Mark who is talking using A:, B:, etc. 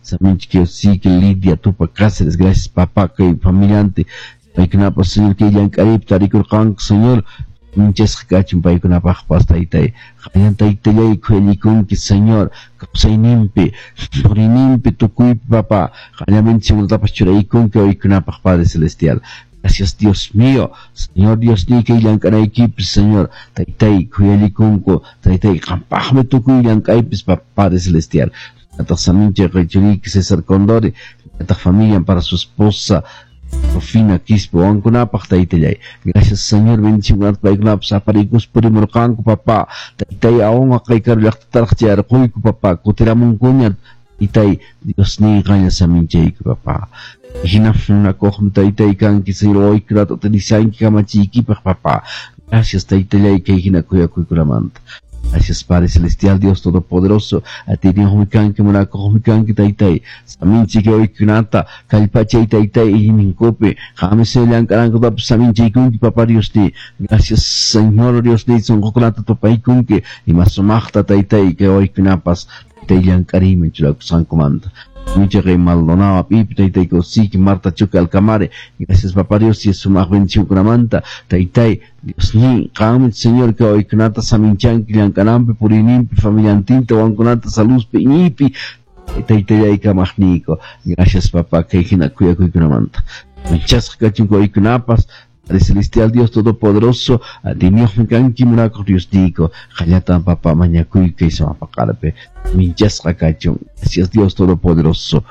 A: Saminchik Lidia Tupa Cáceres, gracias papá, kay familiante. Paykunapas, Señor, kay llank'ariypi tarikurqanku, Señor. Minchasqa kachun paykunapaqpas, taytay. Qanyan taytallay khuyallikunki, Señor. Kawsayninpi, puriyninpi, tukuypi, papá. Qanyan bendicionkunatapas churaykunki waykunapaq, Padre Celestial. Gracias, Dios mío. Señor Dios kay llank'anaykipi, Señor. Taytay khuyallikunku, taytay qampaqmi tukuy llank'aypis, Padre Celestial. Ataq samincha churiyki César Condori, ataq familia para su esposa Rufina Quispe, wawankunapaq taytallay. Gracias, Señor, bendicionkunata paykunapas apariykus purimurqanku, papá. Taytay awan kay karu llaqtataraq chayarquyku, papá. Kutiramunkuña, taytay, Dios niy qanlla saminchayku, papá. Hina munakuqmi taytay kanki, Señor, wawaykunata utilizanki kamachiykipaq, papá. Gracias, taytallay, kay hina kuyakuykunamanta. Gracias, Padre Celestial, Dios Todopoderoso. Atiyniyuqmi kanki, munakuqmi kanki, taytay. Saminchik wawaykunata, kallpachay, taytay, iñiyninkupi. Qanmi, Señor, llank'anankutapas saminchaykunki, papá Dios ni. Gracias, Señor Dios ni, sunqukunata tupaykunki. Ima sumaqta, taytay, kay wawaykunapas, taytay llank'ariyman churakusqankumanta. Michaqay Maldonado apipi, taytay Kosiki, Marta Chuca Alcamare. Gracias, papá Dios, y sumaq bendicionkunamanta. Taytay, Dios ni, qanmi, Señor, kay wawaykunata saminchanki llank'ananpi, puriyninpi, familiantinta, wawankunata saludpi, iñiypi, taytallay kamaqniyku. Gracias, papá, kay hina kuyakuykunamanta. Minchasqa kachun wawaykunapas, Padre Celestial, Dios Todopoderoso, atiyniyuqmi kanki munakuq Dios niyku. Qallatan, papá, mañakuyku kay samapaqarpi. Minchasqa kachun. Gracias, Dios Todopoderoso.